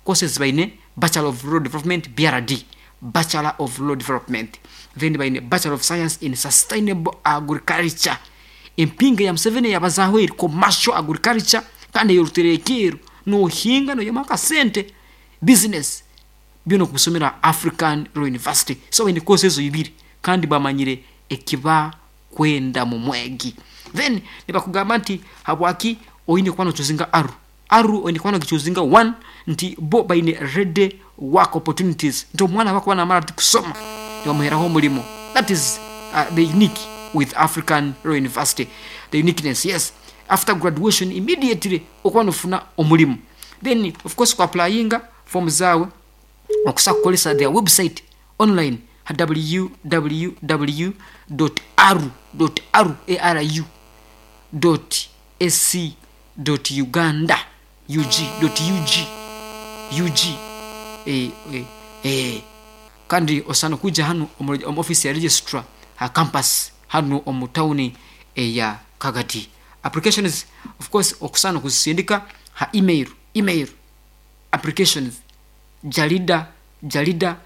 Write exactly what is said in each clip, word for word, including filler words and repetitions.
Courses baine Bachelor of Rural Development, B R D, Bachelor of Rural Development. Then baine Bachelor of Science in Sustainable Agriculture, empinga ya Museveni yabazaho eri commercial agriculture kandi eyoruterekeero nohinga noyema akasente, business byona okubisomera African Rural University. So baine course ezo ibiri kandi bamanyire ekiba kwenda mu mwegi. Then nibakugamba nti habwaki oine kuba nochoosinga ARU. ARU oine kuba nogichoosinga, one, nti bo baine ready work opportunities, nti omwana bakuba namara ati kusoma nibamuheraho omulimo. That is uh, the unique with African Rural University, the uniqueness. Yes, after graduation immediately okuba nofuna omulimu. Then of course kuapplyinga form zawe okusa kukolesa their website online, W W W aru aru aru A C uganda ug ug ug. eh, eh, eh. Kandi osana kuja hanu omu omu office ya registrar ha campus hanu omu tawuni eya Kagadi. Applications, of course, okusana kuzisindika ha email email applications jarida jarida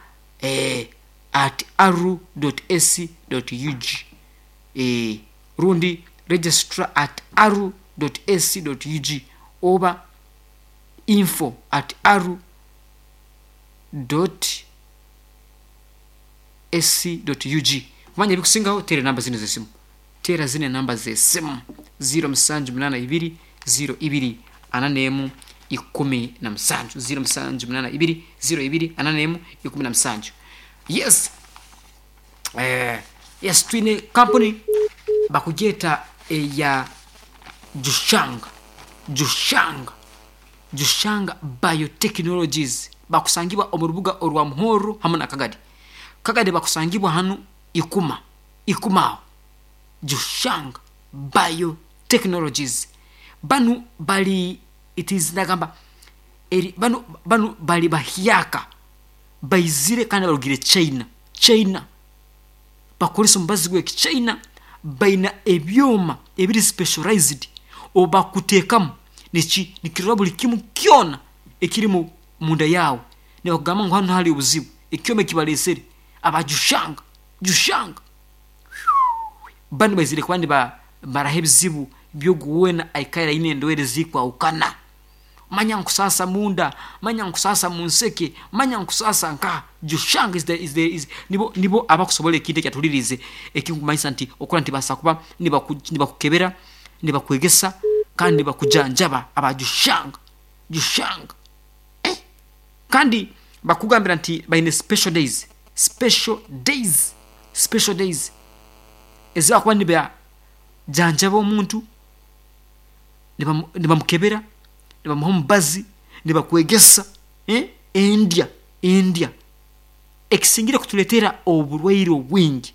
eh, at aru ac ug, eh, rundi registrar at aru ac ug oba info at aru ac ug. Kumanya ebikusingaho, teera enamba zino zesimu, teera zino enamba zesimu: zero musanju munana ibiri zero ibiri ana nemu ikumi na musanju, zero musanju munana ibiri zero ibiri ana nemu ikumi na musanju. Yes, eh, yes, twine kampuni bakugyeta eya Jushanga, Jushanga, Jushanga Biotechnologies. Bakusangibwa omu rubuga orwa Muhoro hamwe na Kagadi. Kagadi bakusangibwa hanu Ikuma, Ikuma aho. Jushanga Biotechnologies banu bali, it is nagamba eri banu banu bali bahyaka baizire kandi barugire China. China bakoresa omubazi gw'eki China. Baina ebyoma ebiri specialized obakuteekamu niki nikirora buli kimu kyona ekiri mu munda yawe, nibakugamba ngu hanu hali obuzibu. Ekyoma ekibalesere abajushanga, Jushanga banu baizire kuba nibamaraho ebizibu byogu weena aikaire aine endwaire zikwahukana. Manya nkusasa munda, manya nkusasa munseke, manya nkusasa nka Jushanga is the, is the, is, nibo, nibo abakusobola ekintu ekyatulirize ekinkumanyisa nti okura nti basa kuba nibaku- nibakukebera, nibakwegesa kandi nibakujanjaba abajushanga, Jushanga, eh? Kandi bakugambira nti baine special days, special days, special days ezibakuba nibajanjaba omuntu, nibamu- nibamukebera, nibamuha omubazi, nibakwegesa, eh? Endya, endya ekisingire kutuletera oburwaire obwingi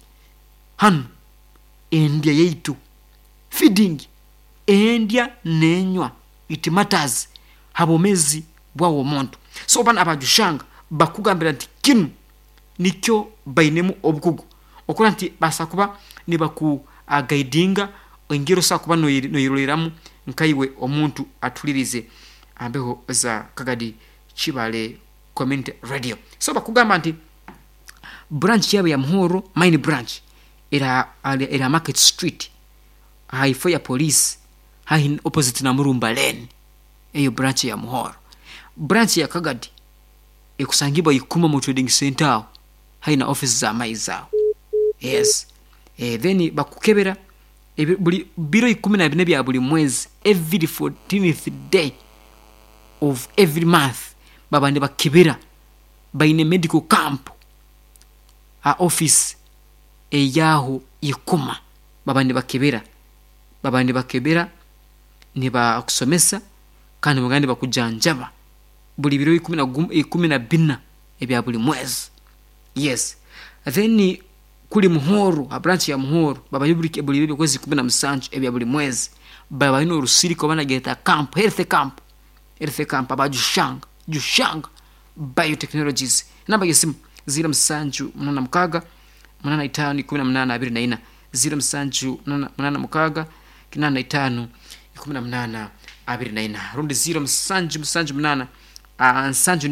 hanu, endya yaitu, feeding, endya nenywa, it matters habwomezi bwawe omuntu. So bana abajushanga bakugambira nti kinu nikyo bainemu obukugu okura nti basa kuba nibakuguidinga engeri osobola kuba noyeroreramu nkaiwe omuntu atulirize ambeho za Kagadi Kibale Community Radio. So bakugamba nti branch yabo ya Muhoro, main branch, era era Market Street haifo ya police, haihi opposite na Murumba Lane. Eyo branch ya Muhoro. Branch ya Kagadi ekusangibwa Ikuma mu trading center aho haina office za maizi aho. Yes, eh, then bakukebera ebi- buli biro ikumi na bine bya buli mwezi, every fourteenth day of every month baba nibakebera. Baine medical camp ha office eyaho Ikuma. Baba nibakebera, baba nibakebera, nibakusomesa kandi bagenda nibakujanjaba buli biro ikumi na gumu- ikumi na bina ebya buli mwezi. Yes, then kuli Muhoro, ha branch ya Muhoro, babayo buli buli byokwezi ikumi na musanju ebya buli mwezi. Baba balina orusirika oba nageta camp, health camp, health camp abajushanga, Jushanga Biotechnologies. Namba yesimu zero musanju munana mukaga munana itano ikumi na munana abiri na ina, zero musanju munana mukaga kinana itano ikumi na munana abiri na ina, rundi zero musanju musanju munana, ah, nsanju.